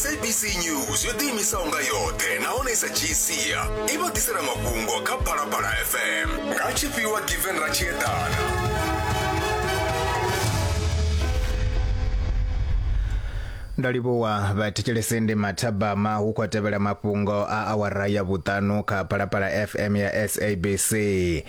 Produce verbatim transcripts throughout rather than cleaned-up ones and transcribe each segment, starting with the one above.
S A B C News yo ḓiimisaho nga yoṱhe nahone i sa dzhii sia i vha ḓisela mafhungo kha Phalaphala F M nga tshifhiwa Given Ratshiedana. Ndo livhuwa vhathetshelesi, ndi mathabama hu khou tevhela mafhungo a awara ya vhuṱanu kha Phalaphala F M ya S A B C.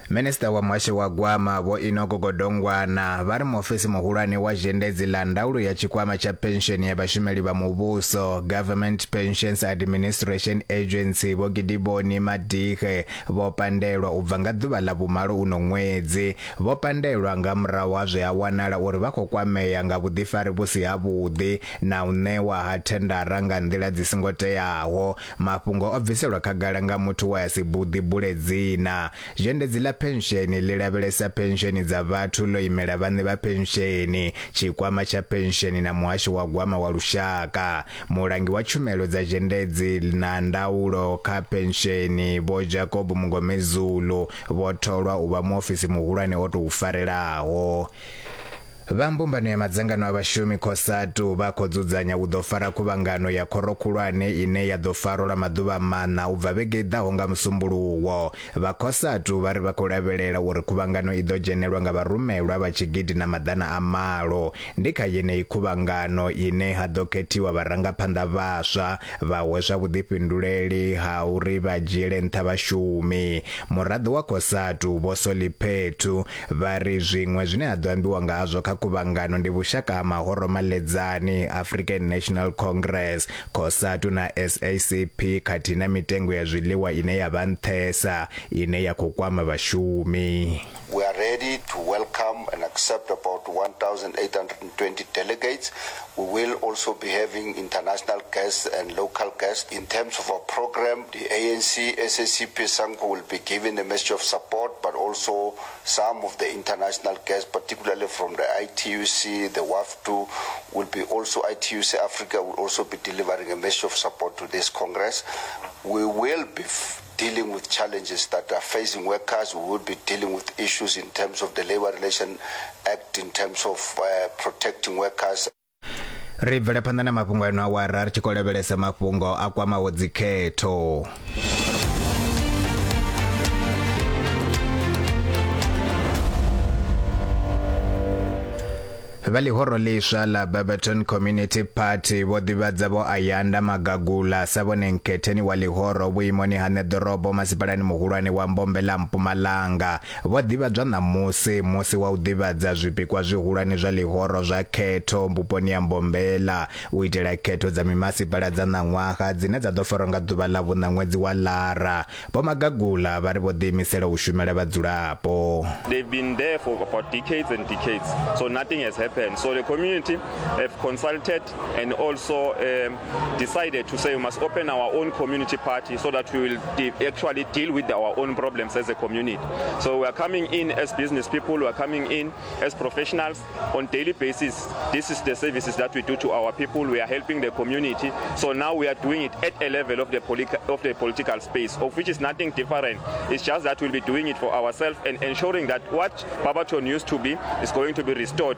Minista wa muhasho wa gwama Vho Enoch Godongwana vha ri muofisi muhulwane wa zhendedzi ḽa ndaulo ya tshikwama tsha pensheni ya vhashumeli vha muvhuso, Government Pensions Administration Agency, Vho Gidiboni Madihe vho pandelwa u bva nga ḓuvha ḽa vhumalo uno ṅwedzi. Vho pandelwa nga murahu ha zwe ha wanala uri vha khou kwamea nga vhuḓifari vhu si havhuḓi na u ṋewa ha thendara nga nḓila dzi songo teaho. Mafhungo o bviselwa khagala nga muthu we a si buḓi bule dzina. Zhendedzi ḽa pensheni ḽi lavhelesa pensheni dza vhathu, ḽo imela vhaṋe vha pensheni, tshikwama tsha pensheni na muhasho wa gwama wa lushaka. Mulangi wa tshumelo dza zhendedzi na ndaulo kha pensheni Vho Jacob Mngomezulu vho tholwa u vha muofisi muhulwane o tou farelaho. Vha mbumbano ya madzangano a vhashumi COSATU vha khou dzudzanya u ḓo fara khuvhangano ya khoro khulwane ine ya ḓo farwa lwa maḓuvha maṋa u bva vhege i ḓaho nga Musumbuluwo. Vha COSATU vha ri vha khou lavhelela uri khuvhangano i ḓo dzhenelwa nga vharumelwa vha tshigidi na maḓana a malo. Ndi kha yeneyi khuvhangano ine ha ḓo khethiwa vharangaphanḓa vhaswa vha hweswa vhuḓifhinduleli ha uri vha dzhiele nṱha vhashumi. Muraḓo wa COSATU Vho Solly Phetoe vha ri zwiṅwe zwine ha ḓo ambiwa nga hazwo kha khuvhangano ndi vhushaka ha mahoro maledzani African National Congress, COSATU na S A C P khathihi na mitengo ya zwiḽiwa ine ya vha nṱhesa ine ya khou kwama vhashumi. We are ready to welcome and accept about one thousand eight hundred twenty delegates. We will also be having international guests and local guests. In terms of our program, the A N C, S A C P, SANCO will be giving a message of support, but also some of the international guests, particularly from the I T U C, the W A F T U, will be also I T U C Africa will also be delivering a message of support to this Congress. We will be f- dealing with challenges that are facing workers. We will be dealing with issues in terms of the Labor Relation Act, in terms of uh, protecting workers. Ri bvele phanḓa na mafhungo ano awara ri tshi khou lavhelesa mafhungo a kwamaho dzikhetho. Vha ḽihoro ḽiswa ḽa Barberton Community Party vho ḓivhadza Vho Ayanda Magagula sa vhone nkhetheni wa ḽihoro vhuimoni ha ṋeḓorobo masipalani muhulwane wa Mbombela, Mpumalanga. Vho ḓivhadzwa ṋamusi musi wa u ḓivhadza zwipikwa zwihulwane zwa ḽihoro zwa khetho vhuponi ha Mbombela u itela khetho dza mimasipala dza ṋaṅwaha dzine dza ḓo farwa nga ḓuvha ḽa vhuṋa ṅwedzi wa Lara. Vho Magagula vha ri vho ḓiimisela u shumela vhadzulapo. They've been there for about decades and decades, so nothing has happened. So the community have consulted and also um, decided to say we must open our own community party so that we will de- actually deal with our own problems as a community. So we are coming in as business people, we are coming in as professionals on daily basis. This is the services that we do to our people. We are helping the community. So now we are doing it at a level of the, poli- of the political space, of which is nothing different. It's just that we'll be doing it for ourselves and ensuring that what Barberton used to be is going to be restored.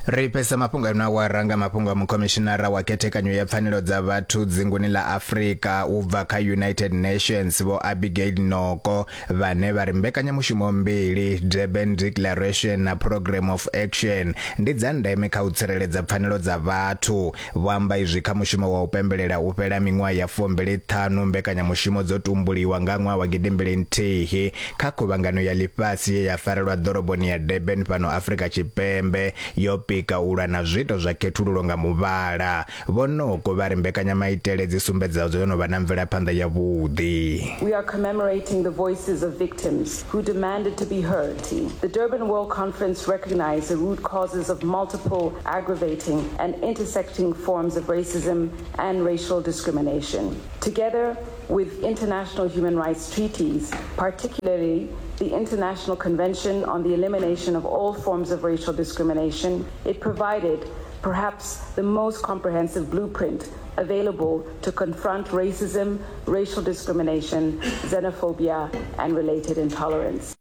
Ri fhesa mafhungo ano awara nga mafhungo a mukhomishinara wa khethekanyo ya pfanelo dza vhathu dzinguni ḽa Afrika u bva kha United Nations Vho Abigail Noko vhane vha ri mbekanyamushumo mbili, Durban Declaration na Programme of Action, ndi dza ndeme kha u tsireledza pfanelo dza vhathu. Vho amba izwi kha mushumo wa u pembelela u fhela miṅwaha ya fumbili ṱhanu mbekanyamushumo dzo tumbuliwa nga ṅwaha wa gidimbili nthihi kha khuvhangano ya ḽifhasi ye ya farelwa ḓoroboni ya Durban fhano Afrika Tshipembe yo pika u lwa na zwiito zwa khethululo nga muvhala. Vho Noko vha ri mbekanyamaitele dzi sumbedza dzo no vha na mvelaphanḓa yavhuḓi. We are commemorating the voices of victims who demanded to be heard. The Durban World Conference recognized the root causes of multiple aggravating and intersecting forms of racism and racial discrimination. Together with international human rights treaties, particularly the International Convention on the Elimination of All Forms of Racial Discrimination, it provided perhaps the most comprehensive blueprint available to confront racism, racial discrimination, xenophobia, and related intolerance.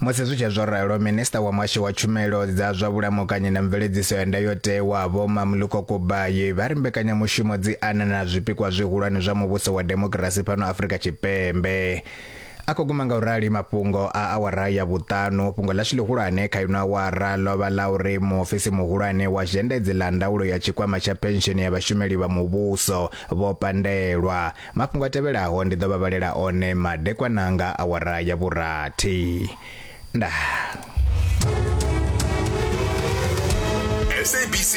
Musi zwi tshi zwo ralo, minista wa muhasho wa tshumelo dza zwa vhulamukanyi na mveledziso ya ndayotewa Vho Mamoloko Kubayi vha ri mbekanyamushumo dzi ana na zwipikwa zwihulwane zwa muvhuso wa demokirasi fhano Afrika Tshipembe. A khou guma nga u rali mafhungo a awara ya vhuṱanu. Fhungo ḽashu ḽihulwane kha ino awara ḽo vha ḽa uri muofisi muhulwane wa zhendedzi ḽa ndaulo ya tshikwama tsha pensheni ya vhashumeli vha muvhuso vho pandelwa. Mafhungo a tevhelaho ndi ḓo vha vhalela one madekwana nga awara ya vhurathi. Ndaa. S A B C